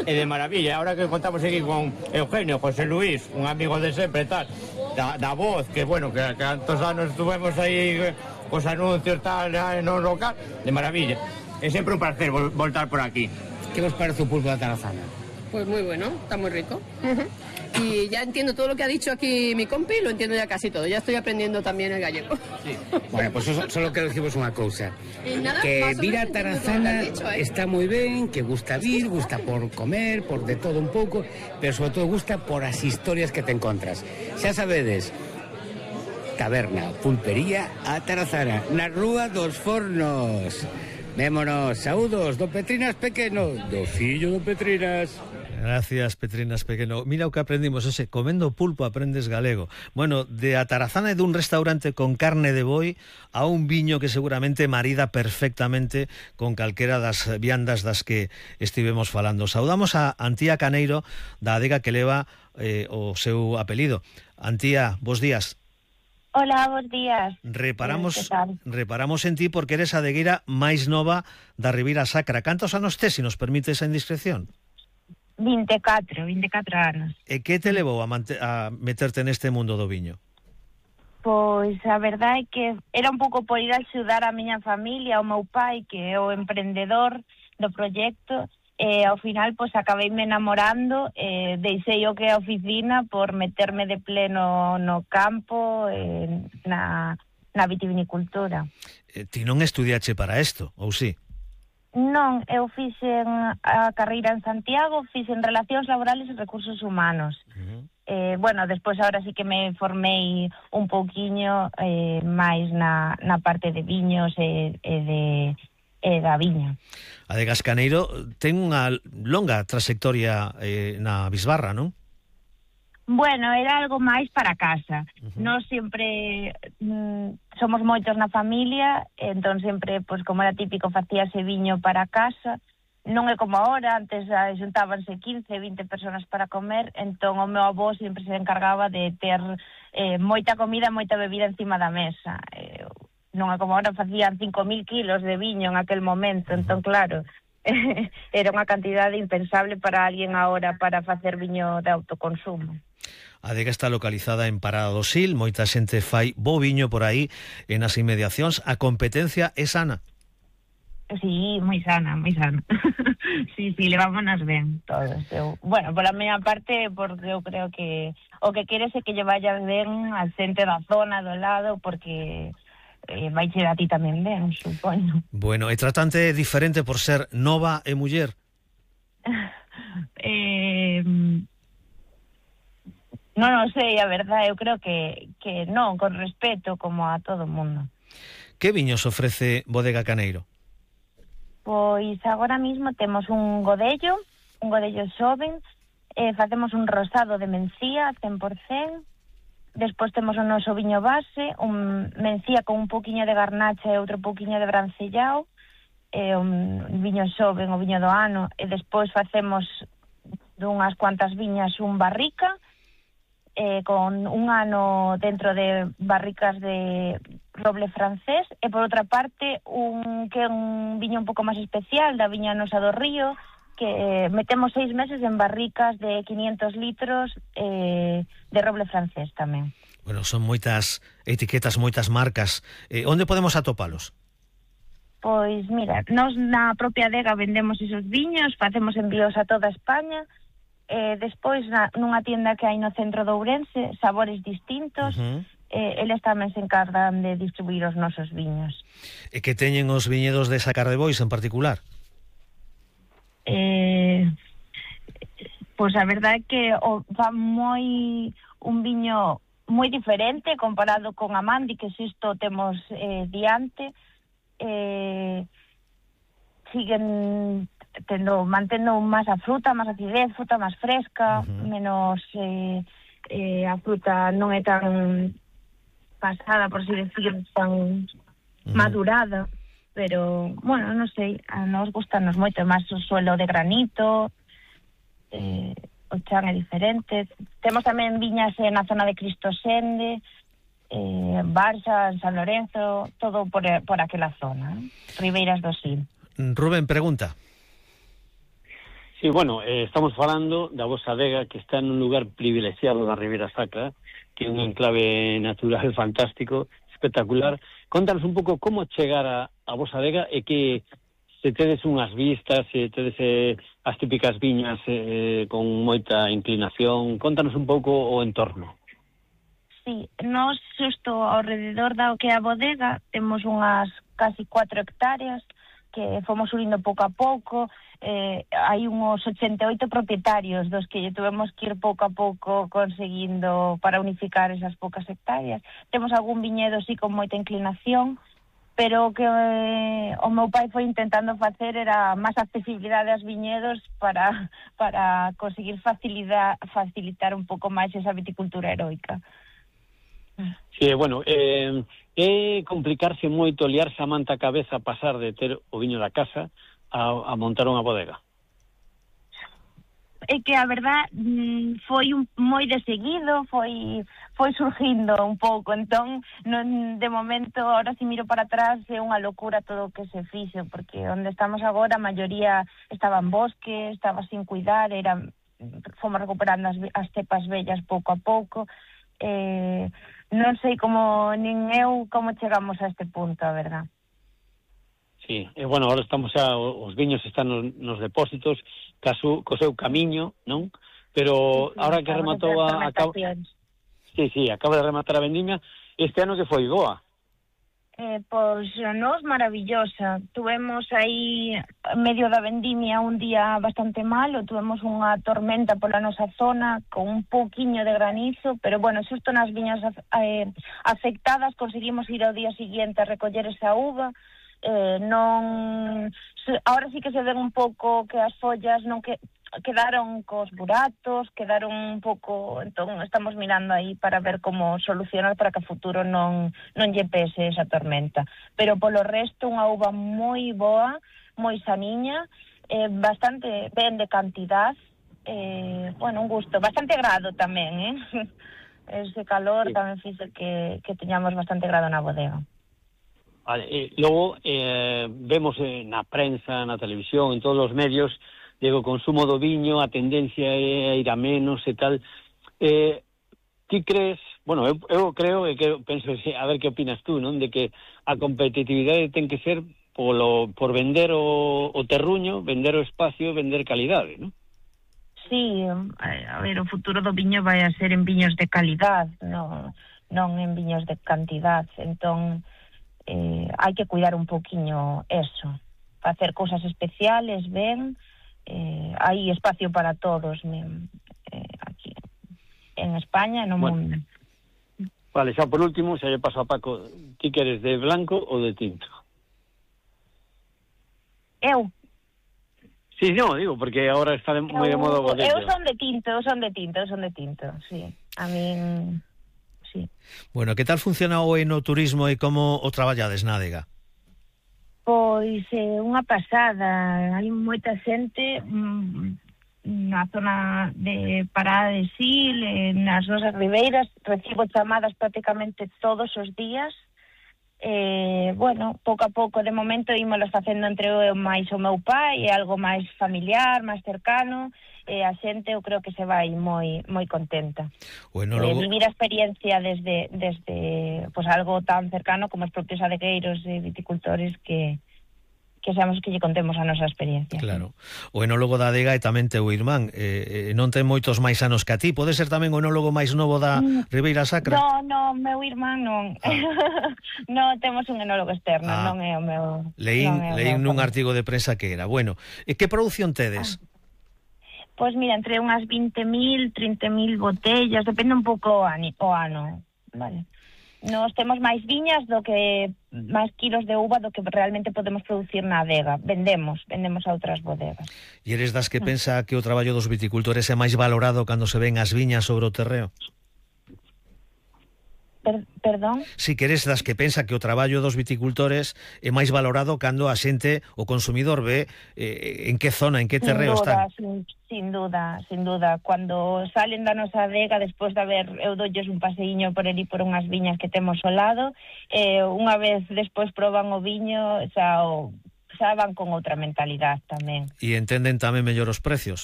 E de maravilla. Ahora que contamos aquí con Eugenio, José Luis, un amigo de sempre, tal, da voz, que bueno, que tantos anos estuvemos aí cos anuncios, tal, no local, de maravilla. É sempre un placer voltar por aquí. Que vos parece o pulpo da Tarazana? Pues muy bueno, está muy rico. Y ya entiendo todo lo que ha dicho aquí mi compi, lo entiendo ya casi todo. Ya estoy aprendiendo también el gallego. Sí. Bueno, pues solo quero diciros unha cousa. Nada, Que más o vir a menos Tarazana entiendo todo lo que has dicho, está moi ben, que gusta vir, gusta por comer, por de todo un pouco, pero sobre todo gusta por as historias que te encontras. Xa sabedes, taberna, pulpería a Tarazana, na Rúa dos Fornos. Vémonos, saúdos do Petrinas Pequeno, do fillo do Petrinas. Gracias, Petrinas Pequeno. Mira o que aprendimos, ese comendo pulpo aprendes galego. Bueno, de a Tarazana e dun restaurante con carne de boi a un viño que seguramente marida perfectamente con calquera das viandas das que estivemos falando. Saudamos a Antía Caneiro, da adega que leva o seu apelido. Antía, bos días. Hola, bons días. Reparamos en ti porque eres a adegueira máis nova da Ribeira Sacra. Cantos anos tes, se nos permite esa indiscreción? 24 anos. E que te levou a meterte neste mundo do viño? Pois a verdade é que era un pouco por ir a axudar a miña familia, o meu pai, que é o emprendedor do proxecto, e ao final pois acabeime enamorando, deixei o que é a oficina por meterme de pleno no campo, na vitivinicultura. Ti non estudiache para isto, ou si? Non, eu fixen a carreira en Santiago, fixen Relacións Laborales e Recursos Humanos. Bueno, despois ahora sí que me formei un pouquiño máis na parte de viños e da viña. Adegas Caneiro ten unha longa trayectoria na Bisbarra, non? Bueno, era algo máis para casa. Nós sempre somos moitos na familia, entón sempre, pois como era típico, facíase viño para casa. Non é como agora, antes xuntábanse 15, 20 personas para comer, entón o meu avó sempre se encargaba de ter moita comida, moita bebida encima da mesa. Non é como agora, facían 5.000 kilos de viño en aquel momento, entón claro, era unha cantidade impensable para alguén agora para facer viño de autoconsumo. A adega está localizada en Parada do Sil, moita xente fai bo viño por aí e nas inmediacións. A competencia é sana? Sí, moi sana, moi sana. Sí, levámonos ben todos. Bueno, pola miña parte, porque eu creo que o que queres é que lle vaya ben a xente da zona, do lado, porque vai ser a ti tamén ben, supoño. Bueno, e tratante diferente por ser nova e muller? Non sei, a verdade, eu creo que non, con respeto, como a todo o mundo. Que viños ofrece Bodega Caneiro? Pois agora mismo temos un godello xoven, facemos un rosado de mencía, 100%, despois temos o noso viño base, un mencía con un pouquiño de garnacha e outro pouquiño de brancellao, un viño xoven, o viño do ano, e despois facemos dunhas cuantas viñas un barrica, con un ano dentro de barricas de roble francés, e por outra parte que é un viño un pouco máis especial da viña nosa do río, que metemos 6 meses en barricas de 500 litros de roble francés tamén. Bueno, son moitas etiquetas, moitas marcas. Onde podemos atopalos? Pois mira, nós na propia adega vendemos esos viños, facemos envíos a toda España, despois nunha tienda que hai no centro de Ourense, Sabores Distintos, eles tamén se encargan de distribuir os nosos viños. E que teñen os viñedos de Sacar de Bois en particular? Pois a verdade é que fa un viño moi diferente comparado con Amandi, que isto temos diante. Siguen mantendo máis a fruta, máis acidez, fruta máis fresca, menos a fruta non é tan pasada, por así decir, tan madurada, pero, bueno, non sei, a nos gustanos moito, máis o suelo de granito, o chan é diferente. Temos tamén viñas na zona de Cristosende, Barxa, en San Lorenzo, todo por aquela zona, Ribeiras do Sil. Rubén, pregunta. Sí, bueno, estamos falando da vosa adega que está nun lugar privilexiado da Ribeira Sacra, que é un enclave natural fantástico, espectacular. Contanos un pouco como chegar a vosa adega e que se tedes unhas vistas, se tedes as típicas viñas con moita inclinación. Contanos un pouco o entorno. Sí, nós xusto ao rededor da que é a bodega temos unhas casi 4 hectáreas que fomos subindo pouco a pouco. Hai uns 88 propietarios dos que tuvemos que ir pouco a pouco conseguindo para unificar esas poucas hectáreas. Temos algún viñedo sí con moita inclinación, pero o que o meu pai foi intentando facer era máis accesibilidade aos viñedos para conseguir facilitar un pouco máis esa viticultura heroica. Sí, bueno, é complicarse moito, liarse a manta a cabeza, pasar de ter o viño da casa a montar unha bodega. É que a verdad foi moi de seguido, foi surgindo un pouco, entón de momento, ahora si miro para atrás é unha locura todo o que se fixo, porque onde estamos agora a maioría estaba en bosque, estaba sin cuidar, fomos recuperando as cepas vellas pouco a pouco. Non sei nin eu como chegamos a este punto, a verdad. Sí, bueno, ahora estamos os viños están nos depósitos, co seu camiño, non? Pero sí, ahora que rematou acaba de rematar a vendimia, este ano que foi boa. Pois nos maravillosa. Tuvemos aí medio da vendimia un día bastante malo, tuvemos unha tormenta pola nosa zona con un pouquiño de granizo, pero bueno, xusto nas viñas afectadas conseguimos ir ao día seguinte a recoller esa uva. Ahora sí que se ven un pouco que as follas non quedaron cos buratos, quedaron un pouco, entón estamos mirando aí para ver como solucionar para que a futuro non lle pese esa tormenta, pero polo resto unha uva moi boa, moi saniña, bastante ben de cantidad, un gusto, bastante grado tamén, ese calor tamén fixo que teñamos bastante grado na bodega. Vale, logo vemos na prensa, na televisión, en todos os medios, o consumo do viño, a tendencia é a ir a menos e tal. Ti crees, bueno, eu creo que penso, a ver que opinas tú, non? De que a competitividade ten que ser por vender o terruño, vender o espacio, vender calidade, non? Sí, a ver, o futuro do viño vai a ser en viños de calidad, non en viños de cantidad, entón hai que cuidar un poquinho eso, facer cousas especiales, ben, hai espacio para todos aquí en España e no mundo. Vale, xa por último, xa lle paso a Paco, ti queres de blanco ou de tinto? Eu? Sí, no, digo, porque agora está moi de moda o bodega. Eu son de tinto, sí. A min... Sí. Bueno, que tal funciona o enoturismo e como o traballades na adega? Pois unha pasada, hai moita xente na zona de Parada de Sil, nas nosas ribeiras, recibo chamadas prácticamente todos os días. Pouco a pouco, de momento, ímolos facendo entre eu máis o meu pai, algo máis familiar, máis cercano, a xente eu creo que se vai moi contenta. Bueno, logo... Vivir a experiencia desde pues algo tan cercano como os propios adegueiros e viticultores que seamos que lle contemos a nosa experiencia. Claro. O enólogo da adega é tamén teu irmán, non ten moitos máis anos que a ti, pode ser tamén o enólogo máis novo da Ribeira Sacra? No, meu irmán non. Non, temos un enólogo externo, non é o meu... Leín nun artigo de prensa que era. Bueno, e que produción tedes? Pois mira, entre unhas 20.000, 30.000 botellas, depende un pouco o ano, vale. Nos temos máis viñas máis kilos de uva do que realmente podemos producir na adega. Vendemos a outras bodegas. E eres das que pensa que o traballo dos viticultores é máis valorado cando se ven as viñas sobre o terreo? Perdón? Si que eres das que pensa que o traballo dos viticultores é máis valorado cando a xente, o consumidor, ve en que zona, en que terreo están. Sin duda. Cuando salen da nosa adega, despois de haber, eu dolles un paseiño por ali por unhas viñas que temos ao lado, unha vez despois proban o viño, xa xa van con outra mentalidade tamén. E entenden tamén mellor os precios.